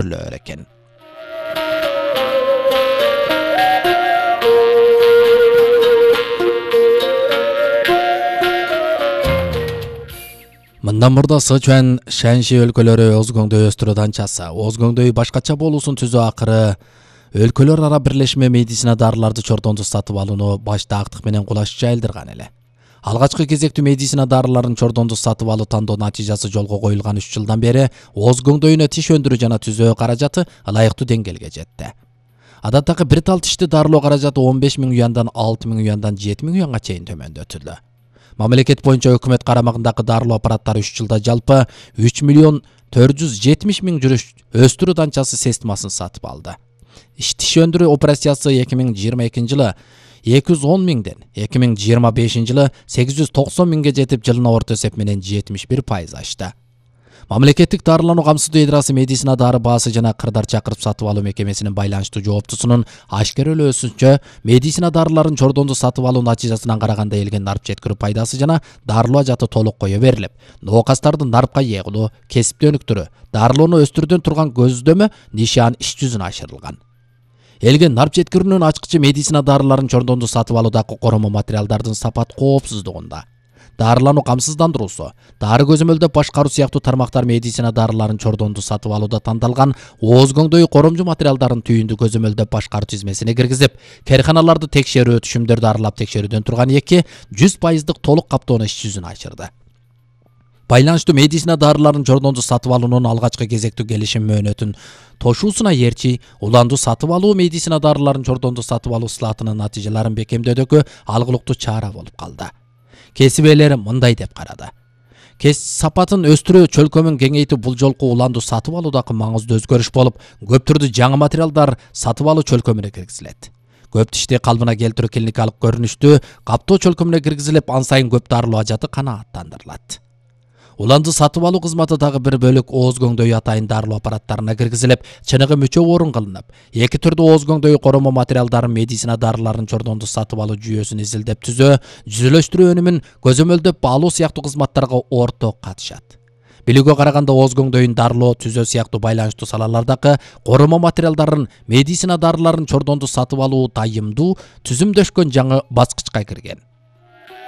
экен. Мындан мурда Сычуан, Шаньши өлкөлөрү Озгоңдой өстүрүү данчасы, Озгоңдой башкача болуусун түзүү акыры өлкөлөр ара бирлешме медицина дарыларды чордондо сатып алууну башта актык менен кулаш жайылдырган эле. Алгачкы кезектүү медицина дарыларын чордондо сатып алуу тандоо натыйжасы жолго коюлган 3 жылдан бери Озгоңдойуна тиш өндүрүү жана түзөө каражаты ылайыктуу деңгээлге жетти. Адаттагы бир тал тишти дарылоо каражаты 15 000 юандан 6 000 юандан 7 000 юанга чейин төмөндөтүлдү. Мамлекет боюнча өкмөт карамагындагы дарылоо аппараттары 3 жылда жалпы 3 470 000 жүрүш өстүрүү данчасы системасын сатып алды. Тиш өндүрүү операциясы 2022 жылы 210 000ден 2025 жылы 890 000ге жетип, жылына орто эсеп менен 71% ашты. Мамлекеттик дарылануу камсыздоо идрасы медицина дары баасы жана кырдар чакырып сатып алуу мекемесинин байланыштуу жооптусунун ашкерелөөсүнчө, медицина дарыларын чордондо сатып алуу натыйжасынан караганда элген нарп жеткирүү пайдасы жана дарылоо ажаты толук кое берилип, ноокастардын нарпка ээ кылуу, кесипти өнүктүрүү, дарылоону өстүрүүдөн турган көздөмө нишан иш жүзүнө ашырылган. Элген нарп жеткирүүнүн ачкычы медицина дарыларын чордондо сатып алуудагы коромо материалдардын сапат коопсуздугунда. Дарылануу камсыздандыруусу, дары көзөмөлдөп башкаруу сыяктуу тармактар медицина дарыларын чордондо сатып алууда тандалган Озгоңдой коромжу материалдарын түйүндү көзөмөлдөп башкаруу тизмесине киргизип, кээрканаларды текшерүү, түшүмдөрдү аралап текшерүүдөн турган 100% толук каптоону иш жүзүнө ашырды. Байланыштуу медицина дарыларын чордондо сатып алуунун алгачкы кезектүү келишим мөөнөтүн тошуусуна ээрчи, уландуу сатып алуу медицина дарыларын чордондо сатып алуу слатынын натыйжаларын бекемдөөдөгү алгылыктуу чара болуп калды. Кесип ээлери мындай деп карады. Сапатын өстүрүү чөлкөмүн кеңейтүү бул жолку уландуу сатып алуудагы маңыздуу өзгөрүш болуп, көп түрдүү жаңы материалдар сатып алуу чөлкөмүнө киргизилет. Көп тишти калыбына келтирүү клиникалык көрүнүштүү каптоо чөлкөмүнө киргизилип, ан сайын көп дарылоо ажаты канааттандырылат. Уланды сатып алуу кызматы дагы бир бөлүк Озгоңдой атайын дарылоо аппараттарына киргизилип, чыныгы мүчө орун кылынып, эки түрдүү Озгоңдой коромо материалдарын медицина дарыларын чордондо сатып алуу жүйөсүн изилдеп түзөө, жүзүлөштүрүү өнүмүн көзөмөлдөп алуу сыяктуу кызматтарга орток катышат. Билүүгө караганда Озгоңдойдун дарылоо, түзөө сыяктуу байланыштуу салалардагы коромо материалдарын медицина дарыларын чордондо сатып алуу дайымдуу түзүмдөшкөн жаңы баскычка кирген.